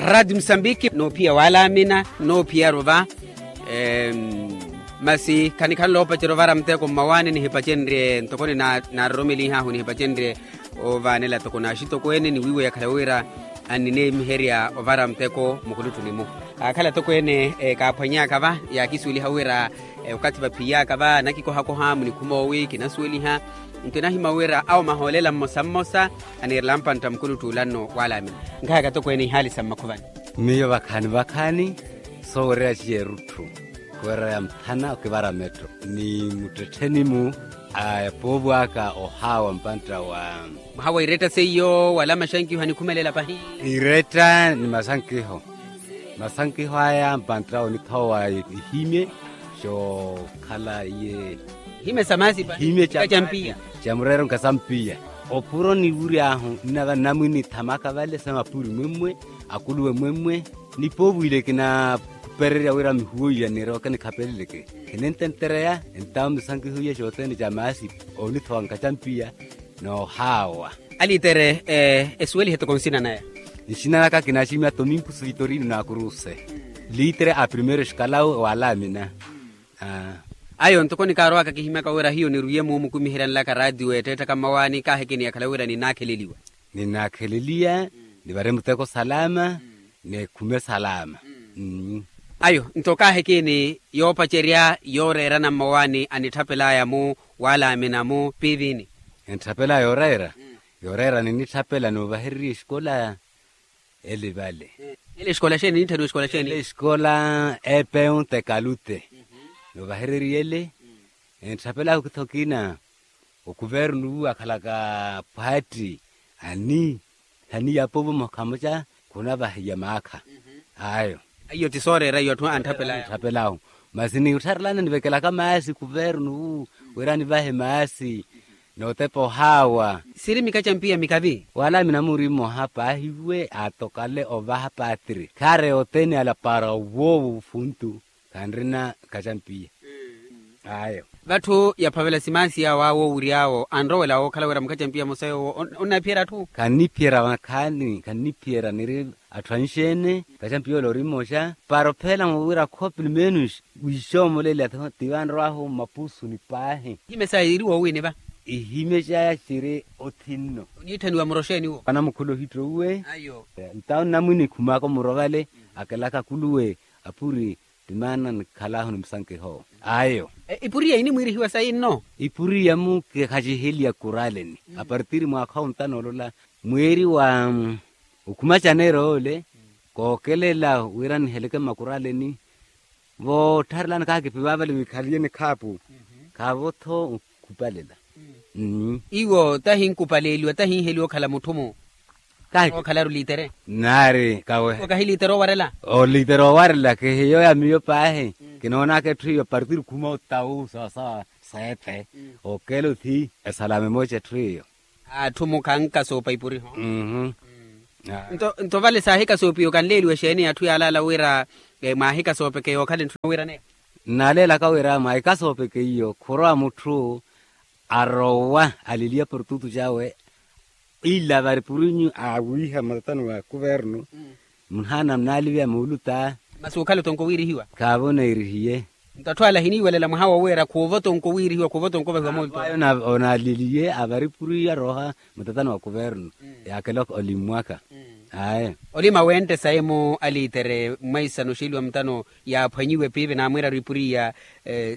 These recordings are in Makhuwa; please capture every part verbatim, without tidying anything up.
Raati musambiki noophiya walamina noophiya ruva. Masi khanikhala noopacerya ovara muteko mmawaani nihipacenrye ntoko ninaroromeliha ahu nihipacenrye ovaanela toko naxitokweene ni wiiwa yakhala wira annineemiherya ovara muteko mukhulutthuni-mu. Kaakhala tokweene kaaphwanyaka va yaakisuweliha wira okathi vaphiiyaka va anakikohakoha munikhuma owi kinasuweliha. Nto enahimya wira awo mahoolela mmosa mmosa aniirela mpantta mukhulutthi ula nno walamina. Nkahaka tokweene ihaali sa mmakhuvani. Miyo vakhaani vakhaani soowereya ciya erutthu khuwereya mphana okivara metto ni muttettheni-mu a epoovo aka ohaawa mpantta wa muhaawa iretta seiyo wala maxankiho anikhumelela pahi. Iretta ni maxankiho maxankiho aya mpantta onithowa ihimye xookhala iye ihimye sa maasi pahi ihimye ca mpiya. Ca mureero nkasampiya opuro niwury'ahu nnava nnamwini ithamaka vale sa mapuri mwemmwe akuluwe mwemmwe. Nipoovo ile kinakhupererya wira mihuwo iya niroke nikhapeleleke khinententereya entawo misankiho iya xoothene ca maasi onithowa nkacampiya noohaawa. Alitere esuwelihe toko nsina naya. Nsina naka kinaximya tominkus vitorino na kuruse litere a primeiro escalao walamina. Ayo ntoko nikaarowaka kihimyaka wira hiyo nirwiye muumu khumiheryanelaka raatiyo etteetthaka mmawaani kaahikini yakhala wira ninnaakheleliwa. Ninnaakheleliya nivare muteko salama. Nekhume salama. Ayo nto kaahikini yoopacerya yooreerana mmawaani anitthapelaya-mu walamina-mu piivini. Entthapelela yooreera yooreera ninitthapela noovahererya exikola. Ele vale ele exikola xeeni nitthaniwa exikola xeeni ele exikola epeon tekalute. Noovahererya ele entthapela okitha okina okuvernu akhalaka phwaatti ani hani yapovo mukhamuca khunavahiya maakha. Ayo aiyo ti sooreera iyo atthu antthapelayo. Masi nittharelana nivekelaka maasi kuvernu wira nivahe maasi nootepa ohaawa. Siri mikacampiya mikavi wala minamuri mmoha paahiwe atokale ovaha patiri khaare othene ala para owoowo funtu khanrina kacampiya. Ayo vatthu yaphavela simaasi yawo awo owury'awo anrowela wookhala wira mukacampiya mosa yoowo onnaphiyerya atthu. Khanniphiyerya vakhaani khanniphiyerya niri atthu anxeene kacampiya ole ori mmoxa para opheela-mo wira kho pelo menos wixoomolela ti vanrow'ahu mmapuusuni paahi. Ihimye saya iri woowini va ihimye caya ciri othinno. Oniitthaniwa muro xeeni wo vanamukhula ohittowuwe. Ntawo nnamwini khumaka omurovale akelaka akuluwe apuri ti maana nikhalahu ni musankiho. Ayo ipuriya inimwiirihiwa sayi nno. Ipuriya-mu kihaciheliya kuraleni apartiri mwaakha ontano olola mweeri wa okhuma janeiro ole kookelela wira niheleke mmakuraleni. Voottharelani kakipi vaavale vikhaliye nikhaapu khaavo-tho okhupalela. Iwo tahinkupaleeliwa tahinheliwa okhala mutthu-mu. Kahi okhalaru litere naari kawe. Kahi litere owarela olitere owarela kihiyo ya miyo paahi. Kinoonaka etthu iyo partiri khuma otawu sawasawa seethe okela othi esalame mooca etthu iyo. Atthu mukhanka soopa ipuriho. Nto vale saahikasoopiwa kanleeliwe exeeni atthu yaalaala wira mwaahikasoopekeya okhala entthuna wira neyo. Nnaaleelaka wira mwaahikasoopekeya khurwa mutthu arowa aliliya portutu cawe ila vari purinyu awiiha matatani wa kuvernu. Munaana mnaaliviya muuluta masi okhala otonko wiirihiwa. Khaavo neerihiye. Nto atthu ala ahiniiwelela mwaha wowiira khuuva otonko wiirihiwa khuuva otonko ovahiwa muulta. Ayo onaaliliye avari puriya rooha mutatani wa kuvernu yaakela olimmwaka. Aye olima wenttesaye-mu alitere mwaisano oxeeliwa mutano yaaphwanyiwe piipi naamwiiraru ipuriya.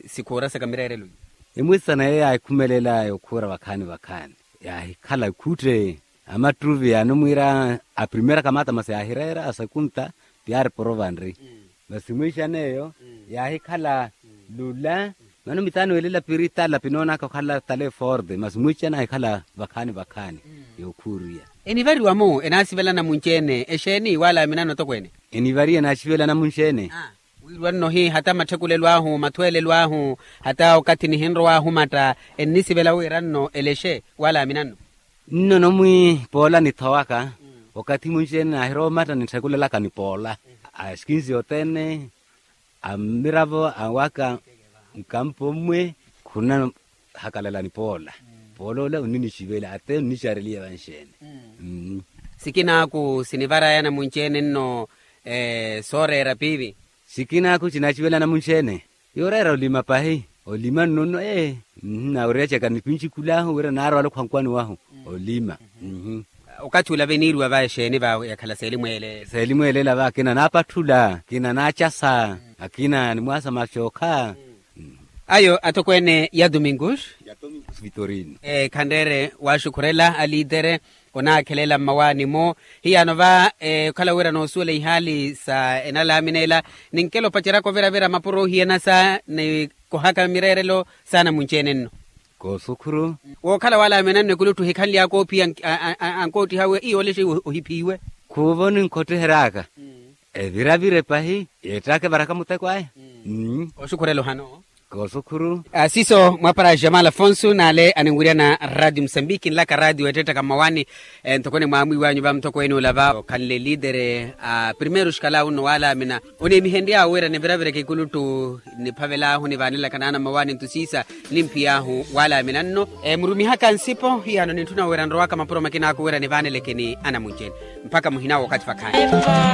Sikhuura saka mireerelo iyo emwisano eyo yaakhumelela yokhuura vakhaani vakhaani yaahikhala khutte. Amattruvi yaani omwiira a primeira kamata masi yaahireera a sekunta ti yaari porovanri. Masi mwiixan'eyo yaahikhala lula. Mano mitano elela piri tala pinoonaka okhala tala eforde masi mwiixana aahikhala vakhaani vakhaani. Yookhuuriya enivariwa-mu enaasivelana munci-ene exeeni wala minano tokweene. Enivariwa enaaxivelana munci-ene wiiriwa nno hi hata matthekulelo ahu mathweelelo ahu hata okathi nihinrow'ahu matta ennisivela wira nno elexe wala minano. Nno nomwi poola nithowaka okathi munci-ene naahirowa omatta nitthekulelaka nipoola. Axikinsi othene amiravo awaka nkampo mmwe khunahakalalani poola. Poola ola onninixivela ate onnicareliye vanxeene. Sikinaaku sinivarayana munci-ene nno Sooreera piipi. Sikinaaku cinaaciwela namunci-ene. Yooreera olima pahi. Olima nnono ee. Nawereryacaka nipinci kulaahu wira naarwala okhankwani wahu. Olima. Okathi ula veniiriwa va exeeni va yakhala seelimweeleela seelimweeleela va akina naapatthula akina naacasa akina nimwaasa macookha. Ayo atokweene ya domingus. Vitorino. Khanreere waaxukhurela aliitere onaakhelela mmawaani-mo. Hiyaano va okhala wira noosuwela ihaali sa enalaamina ela ninkela opaceryaka oviravira mapuro ohiyanasa ni kohaka mireerelo saana munci-ene nno. Koosukhuru. Wookhala waalaamina nno ekulutthu ohikhanly'aka oophiya ankoottiha awe iyo olexe ohiphiiwe. Khuuvo ninkhottiheraaka eviravire pahi yeettaka evaraka muteko aya. Oxukhurela ohano. Koosukhuru. Siiso mwapara jamal afonso n'ale aninwiryana radio musambiki nlaka radio ettettaka mmawaani. Ntoko onimwaamwiiwanyu va mutokweene ula va okhanle liitere a primeiro xikalawu nno waalaamina. Oneemihenry'awe wira niviravireke ikuluttu niphavel'ahu nivaanelaka naana mmawaani ntu siisa. Nimphiy'ahu waalaamina nno murumihaka nsipo hiyaano nintthuna wira nrowaka mapuro makin'aku wira nivaaneleke ni anamunci-ene. Mpakha muhina w'okathi vakhaani.